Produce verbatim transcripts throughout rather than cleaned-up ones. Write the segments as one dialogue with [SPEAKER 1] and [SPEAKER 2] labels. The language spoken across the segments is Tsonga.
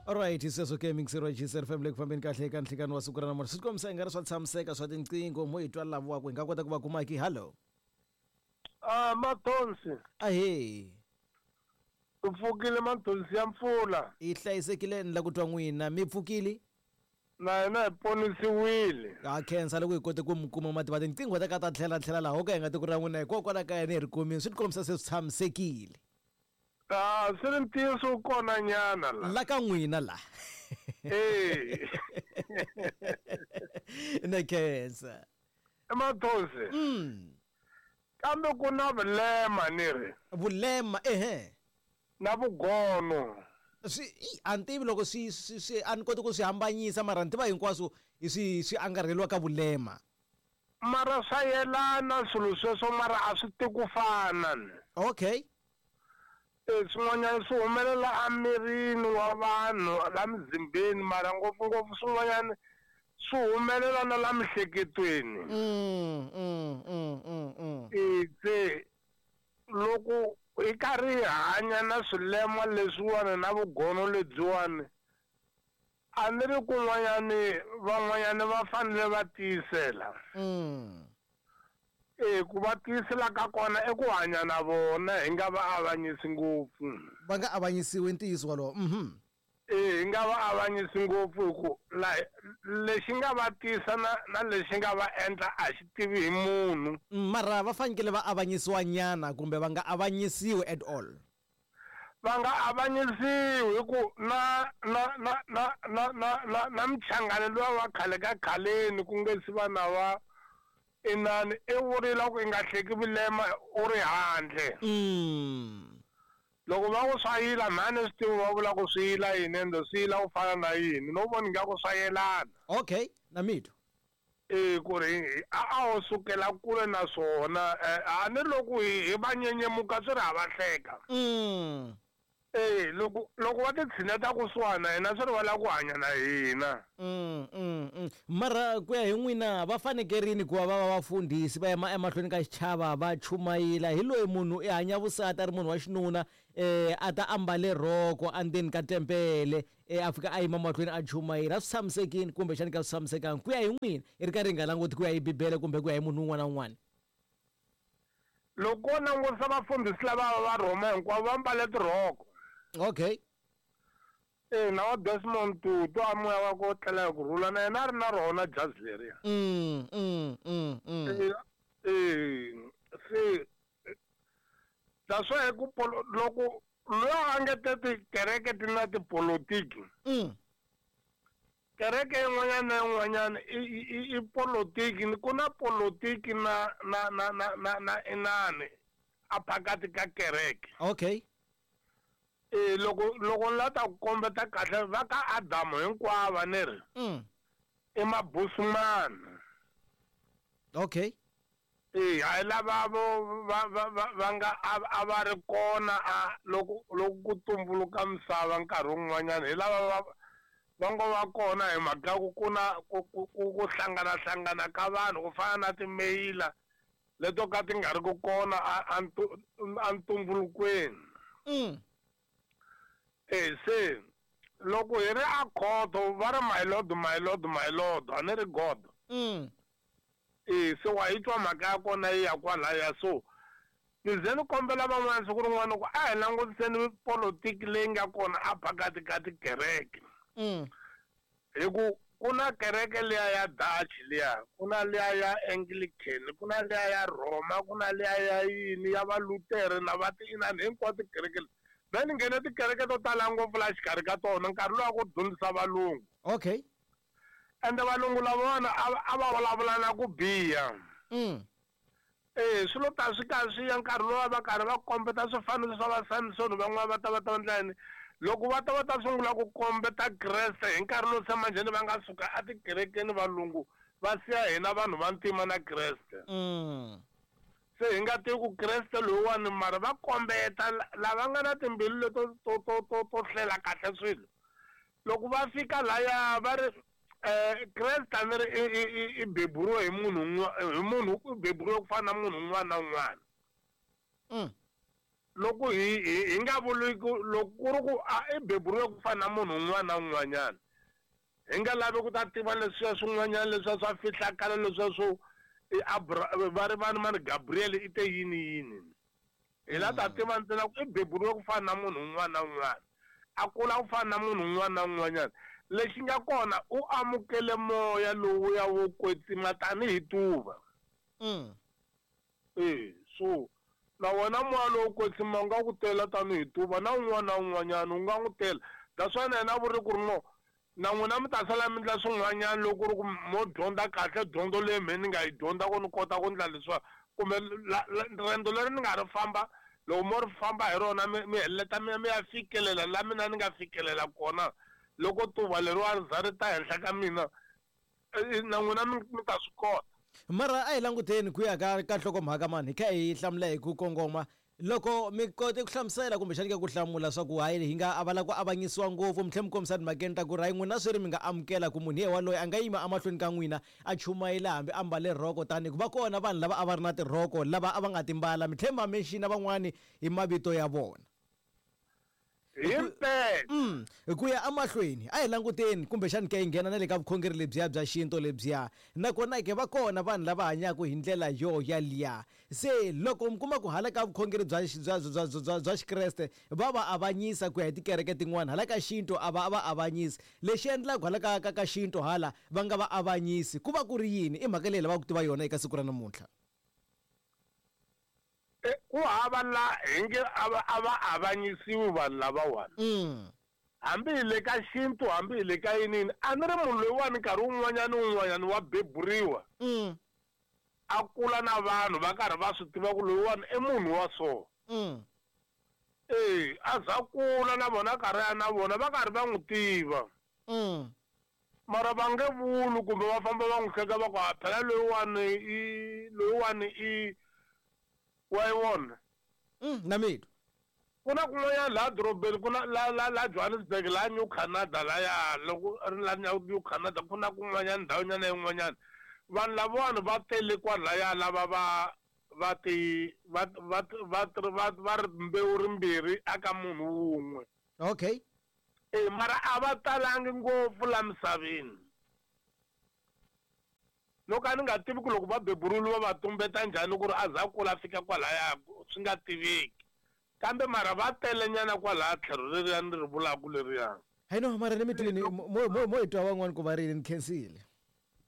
[SPEAKER 1] Alright, sweswo ke mixer wa G S F M le ku fambeni kahle eka nhlikani wa siku ra namuntlha. Swi kombisa i nga ri swa tshamiseka swa tinqingho mo hi twa lava ku hi nga kota ku va kuma ki hello.
[SPEAKER 2] Ah, Mathonsi.
[SPEAKER 1] Ahee.
[SPEAKER 2] U pfukile Mathonsi ya mpfula.
[SPEAKER 1] I hlayisekile ni la ku twa n'wina mi pfukile?
[SPEAKER 2] Na hina hi ponisiwile.
[SPEAKER 1] Ha khensa loko hi kote ku mi kuma mativa tinqingho ta ka ta tlhela tlhela laha ho ka hi nga tiko ra n'wina hikokwalaho ka yena hi ri kumile swi ti kombisa se swi tshamisekile.
[SPEAKER 2] Ah, swi ri ntiyiso wu kona nyana la.
[SPEAKER 1] La ka n'wina la.
[SPEAKER 2] Eh.
[SPEAKER 1] Na khensa.
[SPEAKER 2] Mathonsi.
[SPEAKER 1] Mm.
[SPEAKER 2] Kambe ku na vulema ni ri.
[SPEAKER 1] Vulema ehe.
[SPEAKER 2] Na vugono.
[SPEAKER 1] Swi a ni tivi loko swi swi swi a ni koti ku swi hambanyisa mara ni tiva hinkwaswo hi swi swi angarheliwa ka vulema.
[SPEAKER 2] Mara swa yelana swilo sweswo mara a swi ti ku fana ni.
[SPEAKER 1] Okay.
[SPEAKER 2] E swin'wanyana swi humelela emirini wa vanhu la mizimbeni mara ngopfungopfu swin'wanyana swi humelela na la miehleketweni.
[SPEAKER 1] Mm, mm, mm, mm, mm.
[SPEAKER 2] E se loko hi karhi hi hanya na swilema leswiwani na vugono lebyiwani a ni ri kun'wanyani van'wanyani va fanele va tiyisela.
[SPEAKER 1] Mm.
[SPEAKER 2] E ku va tiyisela ka kona i ku hanya na vona hi nga va avanyisi ngopfu.
[SPEAKER 1] Va nga avanyisiwi ntiyiso wolowo. Mhm.
[SPEAKER 2] E hi nga va avanyisi ngopfu hi ku la lexi nga va tisa na na lexi nga va endla a xi tivi hi munhu.
[SPEAKER 1] Mara va fanekele va avanyisiwa nyana kumbe va nga avanyisiwi at all.
[SPEAKER 2] Va nga avanyisiwi hi ku na na na na na na na na mchangani luwa wa khale ka khaleni ku nge si va na va inani i vurile ku i nga hleki vulema u ri handle.
[SPEAKER 1] Mm.
[SPEAKER 2] Loko va ku swa yila mhani swi tivi va vula ku swi yila yini ende swi yila ku fana na yini no vona ingaku swa yelana.
[SPEAKER 1] Okay, na mitwa.
[SPEAKER 2] E ku ri a a ho sukela kule na swona a ni loko hi hi va nyenyemuka swi ri ha va hleka.
[SPEAKER 1] Mm.
[SPEAKER 2] E loko loko va ti tshineta kusuhana na hina swi ri va lava ku hanya na hina.
[SPEAKER 1] Mm, mm, mm. Mara ku ya hi n'wina va fanekerini ku va va va vafundhisi va yima emahlweni ka xichava va chumayela hi loyi munhu i hanya vusati a ri munhu wa xinuna eh a ta ambale rhoko endzeni ka tempele eh a fika a yima mahlweni a chumayela a swi tshamisekini kumbexani ka swi tshamisekanga ku ya hi n'wina i ri karhi hi nga languti ku ya hi bibele kumbe ku ya hi munhu un'wana na un'wana.
[SPEAKER 2] Loko wo langutisa vafundhisi lava va Rhoma hinkwavo va mbale tirhoko.
[SPEAKER 1] Okay.
[SPEAKER 2] E na wa Desmond Tutu a moya wa ku tlela hi ku rhula na yena a ri na rona jazi leriya.
[SPEAKER 1] Mm, mm, mm, mm.
[SPEAKER 2] E e se that's why ku loko loyi a nge te tikereke ti na tipolotiki.
[SPEAKER 1] Mm.
[SPEAKER 2] Kereke yin'wanyana na yin'wanyana i i i politiki ku na politiki na na na na na na inani a phakati ka kereke.
[SPEAKER 1] Okay.
[SPEAKER 2] E loko loko ni la ta ku kombeta kahle va ka Adamu hinkwavo ni ri.
[SPEAKER 1] Mm.
[SPEAKER 2] I mabusumani.
[SPEAKER 1] Okay.
[SPEAKER 2] E hayi lava vo va va va va nga a va ri kona a loko loko ku tumbuluka misava nkarhi wun'wanyana hi lava va va ngo va kona hi mhaka ku ku na ku ku ku hlangana hlangana ka vanhu ku fana na timeyila leto ka ti nga ri ku kona a a ntumbulukweni.
[SPEAKER 1] Mm.
[SPEAKER 2] E se loko hi ri a khoto va ri my lord my lord my lord a ni ri god.
[SPEAKER 1] Mm.
[SPEAKER 2] E se wa yi twa mhaka ya kona yi ya kwalaya so ni ze ni kombela van'wana siku rin'wana ku a hi langutiseni politiki leyi nga kona a phakati ka tikereke.
[SPEAKER 1] Mm.
[SPEAKER 2] Hi ku ku na kereke liya ya Dutch liya ku na liya ya Anglican ku na liya ya Roma ku na liya ya yini ya va Lutere na va ti inani hinkwato tikereke leti. Mehe ni nghene tikereke to tala ngopfu laha xikarhi ka tona nkarhi lowu a ku dyondzisa valungu.
[SPEAKER 1] Okay.
[SPEAKER 2] Ende valungu lavawani a va vulavula na ku biha.
[SPEAKER 1] Mm.
[SPEAKER 2] E swilo ta swi karhi swi ya nkarhi lowu va karhi va kombeta swifaniso swa va Samson van'wana va ta va ta endla yini loko va ta va ta sungula ku kombeta Kreste hi nkarhi lowu se manjheni va nga suka etikerekeni valungu va siya hina vanhu va ntima na Kreste.
[SPEAKER 1] Mm.
[SPEAKER 2] Se hi nga tivi ku Kreste loyiwani mara va kombeta lava nga na timbilu leto to to to to hlela kahle swilo. Loko va fika laya va ri eh Kreste a ni ri i i beburiwe hi munhu hi munhu u beburiwe ku fana na munhu un'wana na un'wana.
[SPEAKER 1] Mm.
[SPEAKER 2] Loko hi hi nga vuli ku loko ku ri ku a i beburiwe ku fana na munhu un'wana na un'wanyana. Hi nga lavi ku ta tiva leswiya swin'wanyana leswiya swa fihlakala leswiya swo i Abra va ri vani mani Gabriel i te yini yini. Hi la ta tiva ntsena ku i beburiwe ku fana na munhu un'wana na un'wana. A kula ku fana na munhu un'wana na un'wanyana. Lexi nga kona u amukele moya lowuya wo kwetsima tanihi tuva.
[SPEAKER 1] Mm.
[SPEAKER 2] Eh, so na wena moya lowo kwetsima u nga ku tela tanihi tuva na un'wana na un'wanyana u nga n'wi tela. That's why na yena vuri ku ri no na n'wina mi ta sala mi endla swin'wanyana loko ku ri ku mo dyondza kahle dyondzo leyi mehe ni nga yi dyondza ku ni kota ku endla leswiwa kumbe riendzo leri ni nga ri famba loko mo ri famba hi rona mi mi heleta mi ya mi ya fikelela la mina ni nga fikelela kona loko tuva leriwa ri za ri ta henhla ka mina na n'wina mi ta swi kota.
[SPEAKER 1] Mara a hi languteni ku ya ka ka nhlokomhaka mani hi kha hi hlamula hi ku kongoma loko mi kote ku hlamusela kumbexani ka ku hlamula swa ku hayi hi nga a va lava ku avanyisiwa ngopfu mi tlhela mi kombisa timhakeni ta ku ri hayi n'wina swi ri mi nga amukela ku munhu ye waloye a nga yima emahlweni ka n'wina a chumayela hambi a mbale rhoko tani ku va kona vanhu lava a va ri na tirhoko lava a va nga timbala mi tlhela mi va mention van'wani hi mavito ya vona.
[SPEAKER 2] Himpela.
[SPEAKER 1] Mm, ku ya emahlweni a hi languteni kumbexani ke hi nghena na le ka vukhongeri lebyiya bya xintu lebyiya nakona ke va kona vanhu lava hanyaka hi ndlela yo yaliya se loko mi kuma ku hala ka vukhongeri bya bya bya bya bya xikreste va va avanyisa ku ya hi tikereke tin'wana hala ka xintu a va va avanyisi lexi endlaka hala ka ka ka xintu hala va nga va avanyisi ku va ku ri yini i mhaka leyi lavaka ku tiva yona eka siku ra namuntlha.
[SPEAKER 2] Ku hava la hi nge a va a va avanyisiwi vanhu lavawani.
[SPEAKER 1] Mm.
[SPEAKER 2] Hambi hi le ka xintu hambi hi le ka yinini a ni ri munhu loyiwani nkarhi wun'wanyana wun'wanyana wa beburiwa.
[SPEAKER 1] Mm.
[SPEAKER 2] A kula na vanhu va karhi va swi tiva ku loyiwani i munhu wa so.
[SPEAKER 1] Mm.
[SPEAKER 2] Eh, a za kula na vona karhi ya na vona va karhi va n'wi tiva.
[SPEAKER 1] Mm.
[SPEAKER 2] Mara va nge vuli kumbe va famba va n'wi hleka va ku a phela loyiwani i loyiwani i wa yi vona.
[SPEAKER 1] Mm, na mitwa.
[SPEAKER 2] Ku na kun'wanyana laha dorobeni ku na la la la Johannesburg la New Canada laya loko ri la New Canada ku na kun'wanyana ndhawunyana yin'wanyana vanhu lavawani va tele kwalaya lava va va ti va va va va va ri mbewu rimbirhi aka munhu wun'we.
[SPEAKER 1] Okay.
[SPEAKER 2] Eh, mara a va talangi ngopfu la misaveni. Loko a ni nga tivi ku loko va beburiwile va va tumbeta njhani ku ri a za kula fika kwalaya swi nga tiveki kambe mara va telenyana kwalaya tlhelo leriya ni ri vulaka leriya.
[SPEAKER 1] Hayi no mara ni mi twini mo mo mo hi twa van'wani ku va rini ni khensile.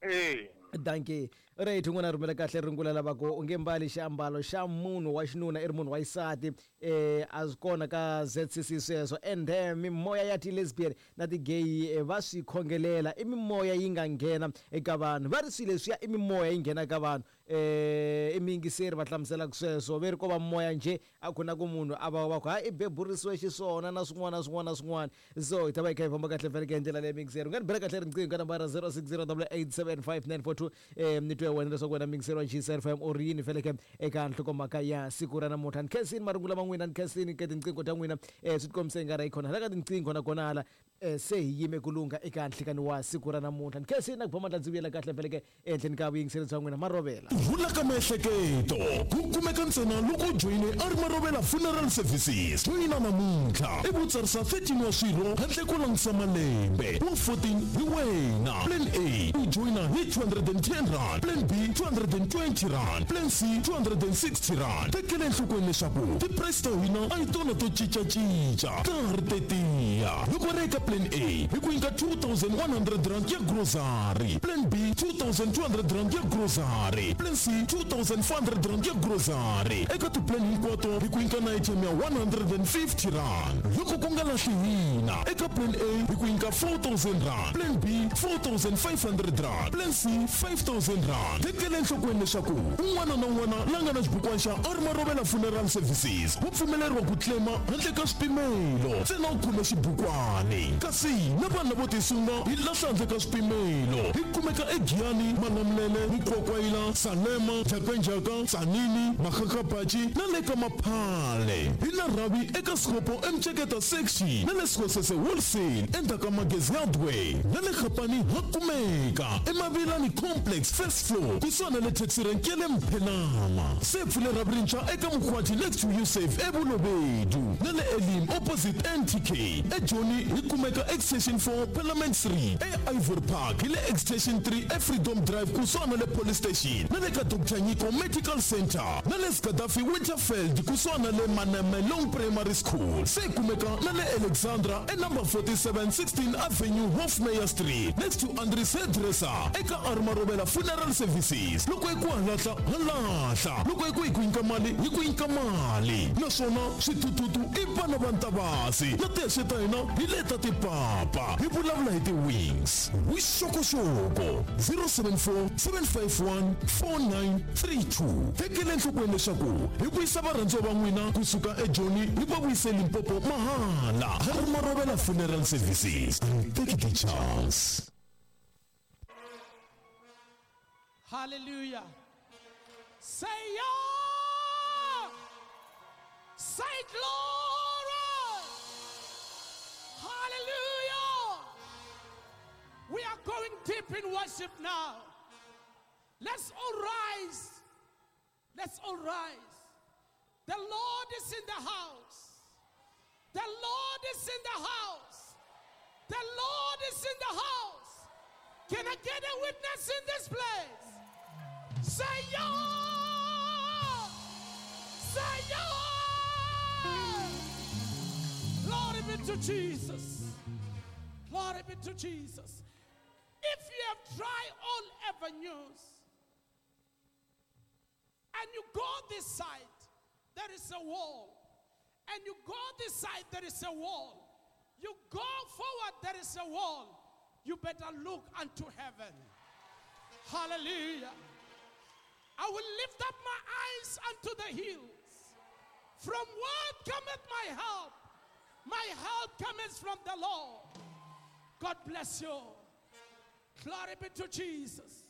[SPEAKER 2] Eh.
[SPEAKER 1] Dankie. Right, un'wana a rhumela kahle rungula lava ku u nge mbali xiambalo xa munhu wa xinuna i ri munhu wa xisati eh a swi kona ka Z C C sweswo and then mimoya ya ti-lesbian na ti-gay va swi khongelela i mimoya yi nga nghena eka vanhu va ri swilo leswiya i mimoya yi nghena ka vanhu eh i miyingiseri va hlamuselaka sweswo ve ri ko va moya njhe a ku na ku munhu a va va ku ha i beburisiwe xiswona na swin'wana na swin'wana na swin'wana so hi ta va hi kha hi famba kahle faneke hi ndlela leyi miyingiseri u nga ni bela kahle riqingho ka nambara zero six zero double eight seven five nine four two eh ni twe wena leswaku wena miyingiseri wa G C F M u ri yini feleke eka nhlokomhaka ya siku ra namuntlha ni khensini marungula ma n'wina ni khensini ka tinqingho ta n'wina eh swi tikombise nga ri khona hala ka tinqingho nakona hala eh se hi yime ku lungha eka nhlikani wa siku ra namuntlha ni khensini na ku ba mandla ndzi vuyela kahle feleke ehenhleni ka vuyingiseri bya n'wina marovela.
[SPEAKER 3] Rhula ka miehleketo ku kumeka ntsena loko u joyine a ri Marovela Funeral Services. Joyina namuntlha i ku tsarisa thirteen wa swirho handle ko langutisa malembe wa fourteen hi wena. Plan A u joyina hi two hundred and ten rand, Plan B two hundred and twenty rand, Plan C two hundred and sixty rand. Tekela enhlokweni leswaku ti-price ta hina a hi tona to cincacinca ta ha ri tetiya. Loko ri eka Plan A hi ku nyika two thousand one hundred rand ya grocery, Plan B two thousand two hundred rand ya grocery, Plan C two thousand four hundred rand ya grocery. Eka ti-plan hinkwato hi ku nyika na item ya one hundred and fifty rand. Loko ku nga lahli hina eka Plan A hi ku nyika four thousand rand, Plan B four thousand five hundred rand, Plan C five thousand rand. Tekela enhlokweni leswaku un'wana na un'wana la nga na xibukwana xa a ri Marovela Funeral Services wa pfumeleriwa ku claima handle ka swipimelo ntsena u khome xibukwani. Kasi na vanhu lavo tisunga hi lahla handle ka swipimelo hi kumeka eGiyani, Malamulele, Mukwakwayila, Salema, Jakainjaka, Tsanini, Makgakgapachi na le ka Maphale. Hi na rhavi eka Sikopo eMceketa section. Upington na le Sekgosese Wholesale endzhaku ka Magezi Hardware na le Kgapane ha kumeka eMavilani Complex first floor kusuhana na le taxi rank ya le Mphenama. Se pfule ra Brincha eka Mkhwati next to Yusuf eBulobedu na le Elim opposite N T K. eJoni hi kumeka Extension four Parliament Street, e Ivory Park hi le Extension three eFreedom Drive kusuhana na le Police Station na le ka Doctor Nyiko Medical Center na le Gaddafi Winterfeld kusuhana na le Manemelong Primary School. Se kumeka na le Alexandra e number forty-seven sixteen Avenue Hofmeyer Street next to Andries Hairdresser eka Armarobela Funeral Services. Loko hi ku halahla halahla, loko hi ku hi ku nyika mali hi ku nyika mali, naswona switututu i vana va Ntavasi na tihexe ta hina hi leta tipapa hi vulavula hi ti-wings. Vuxokoxoko zero seven four seven five one four nine three two. Tekela enhlokweni leswaku hi vuyisa varhandziwa va n'wina kusuka eJoni hi va vuyise Limpopo mahala. Armarobela Funeral Services, take the chance.
[SPEAKER 4] Hallelujah. Say yeah. Say glory. Hallelujah. We are going deep in worship now. Let's all rise. Let's all rise. The Lord is in the house. The Lord is in the house. The Lord is in the house. Can I get a witness in this place? Say yeah! Say yeah! Glory be to Jesus. Glory be to Jesus. If you have tried all avenues and you go this side, there is a wall. And you go this side, there is a wall. You go forward, there is a wall. You better look unto heaven. Hallelujah. I will lift up my eyes unto the hills. From where cometh my help? My help cometh from the Lord. God bless you. Glory be to Jesus.